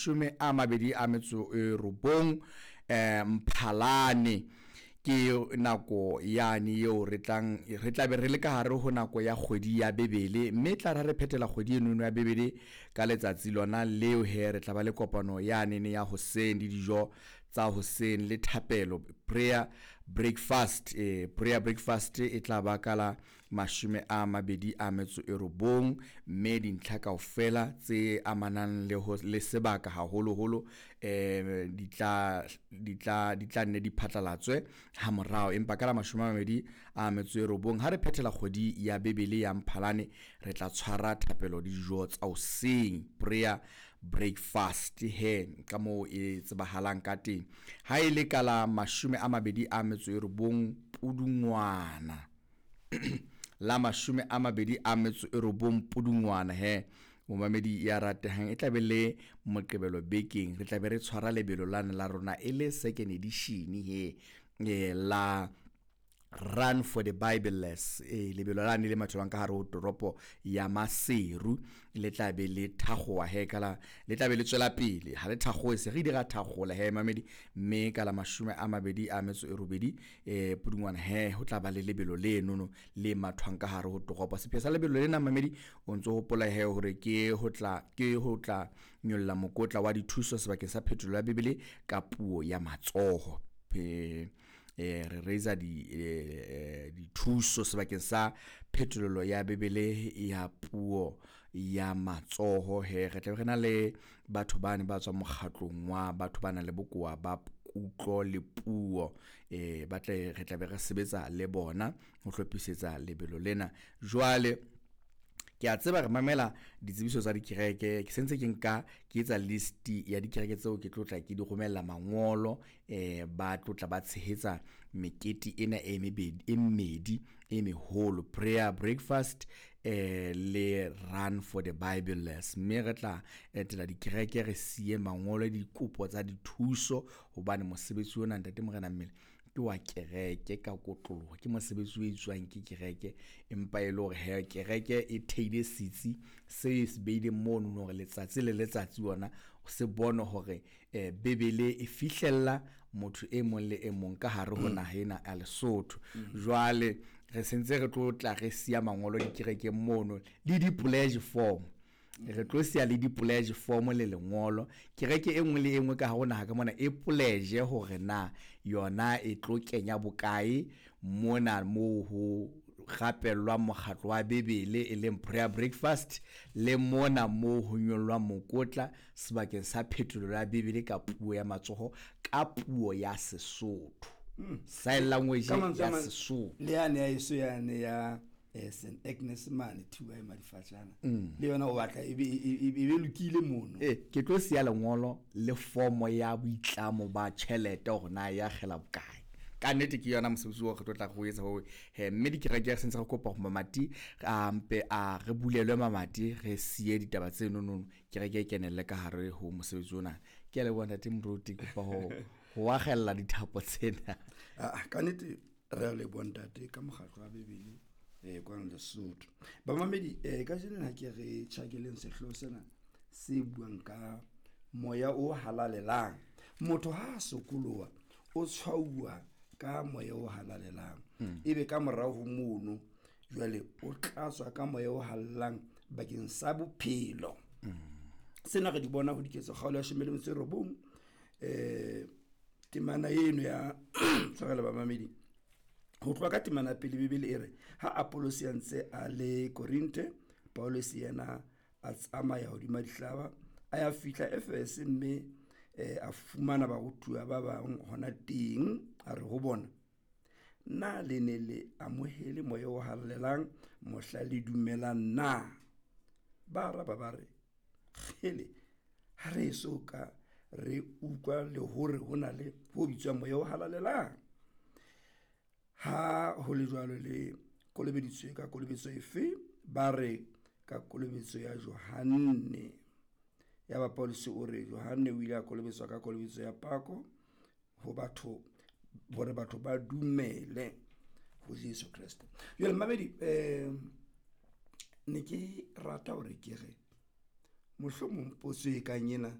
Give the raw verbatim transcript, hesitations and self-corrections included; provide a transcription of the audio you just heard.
mashome a mabedi a metso e robong eh Mphalane. Ke nako yane eo re tlang re tla be re le ka hare ho nako ya kgwedi ya Bebele, mme tla re re phethela kgwedi eno ya Bebele ka letsatsi lona leo he re tla ba le kopano yane ne ya hoseng le dijo tsa hoseng le thapelo, prayer breakfast. Eh prayer breakfast e tla ba ka la mashome a mabedi a metso e robong, mme dintlha kaofela tse amanang le ho le sebaka haholoholo eh di tla di tla di tla nne di phatlalatswe ha morao. Empa ka la mashome a mabedi a metso e robong ha re phethela kgwedi ya Bebele ya Mphalane, re tla tshwara thapelo le dijo tsa hoseng, prayer breakfast he ka moo e tsebahalang ka teng. Ha e le ka la mashome a mabedi a metso e robong Pudungwana la mashome a mabedi a metso e robong Pudungwana he momamedi ya ratehang, e tla be le Moqebelo bekeng re tla be re tshwara lebelo lane la rona e le second edition he eh, la Run for the Bibleless. E lebelo lane le mathelwang ka hare ho toropo ya Maseru le tla be le thakgowa he kala le tla be le tswela pele ha le thakgowe se re ile ra thakgola he mamedi, mme ka la mashome a mabedi a metso e robedi eh Pudungwana he ho tla ba le lebelo le nono le mathwang ka hare ho toropo. Sepheo sa lebelo lena mamedi o ntso hopola he hore ke ho tla ke ho tla nyolla mokotla wa dithuso sebakeng sa phetolelo ya Bibele ka puo ya matsoho. Pe eh re raisa di eh, dithuso sebakeng sa phetolelo ya Bibele ya puo ya matsoho he re tla be re na le batho bane ba tswang mokgatlong wa batho ba nang le bokowa ba kutlo le puo eh ba tle re tla be re sebetsa le bona ho hlophisetsa lebelo lena. Jwale ke a tseba re mamela ditsebiso tsa dikereke, ke sentse ke nka ke etsa list ya dikereke tseo ke tlo tla ke di romella mangolo eh ba tlo tla ba tshehetsa mekete ena e mebedi e mmedi e meholo, prayer breakfast eh le Run for the Bibleless. Mme re tla etela dikereke re siye mangolo le dikopo tsa dithuso, hobane mosebetsi ona ntate Morena Mmele ke wa kereke ka kotloloho, ke mosebetsi o etswang ke kereke, empa e le hore he kereke e theile setsi se se beileng mono hore letsatsi le letsatsi ona se bone hore eh Bebele e fihlella motho e mong le e mong ka hare ho naha ena ya Lesotho. Jwale re sentse re tlo tla re siya mangolo dikerekeng mono le di-pledge form, re tlo siya le di-pledge form le lengolo. Kereke e nngwe le e nngwe ka hare ho naha ka mona e pledge hore na yona e tlo kenya bokae mona moo ho rapellwang mokgatlo wa Bebele e leng prayer breakfast, le mona moo ho nyollwang mokotla sebakeng sa phetolelo ya Bebele ka puo ya matsoho ka puo ya Sesotho, sign language Ka mantswe a ya mang, Sesotho. Le yane ya eso yane ya eh, Saint Agnes mane Thuba e Madifatjana, le yona o batla e be e e- e be lokile mono. Eh ke tlo siya lengolo le formo ya boitlamo ba tjhelete hore na ya kgela bokae. Ka nnete ke yona mosebetsi oo re tlo tla re o etsa oo he, mme dikereke re sentse re kopa hore mamati a mpe a re bulelwe mamati re siye ditaba tse nonono, kereke e kenelle ka hare ho mosebetsi ona. Ke a leboha ntate Moruti, kopa ho ho akgella dithapo tsena. Ah, ka nnete re a leboha ntate ka mokgatlo wa Bebele eh kwano Lesotho. Bamamedi eh kajeno ha ke re tjhakeleng sehlooho sena se buang ka moya o halalelang. Motho ha a sokoloha o tshwauwa ka moya o halalelang, ebe ka morao ho mono jwale o tlatswa ka moya o halalelang bakeng sa bophelo. Sena re di bona ho Diketso kgaolo ya leshome le metso e robong, eh temana eno ya tshwarelo bamamedi. Ho tloha ka temana pele Bibele e re ha Apollos a ntse a le Korinthe, Paulus yena a tsamaya hodima dihlaba a ya fihla Efese, mme eh, a fumana barutuwa ba bang hona teng. A re ho bona, na le ne le amohele moya o halalelang mohla le dumelang na? Ba araba ba re, kgele, ha re eso ka re utlwa le hore ho na le ho bitswang moya o halalelang. Ha ho le jwalo le kolobeditswe ka kolobetso efe? Ba re ka kolobetso ya Johanne. Yaba Paulus o re Johanne o ile a kolobetswa ka kolobetso ya pako ho batho, hore batho ba dumele ho Jesu Kreste. Jwale mamedi, eh ne ke rata hore ke re mohlomong potso e kang ena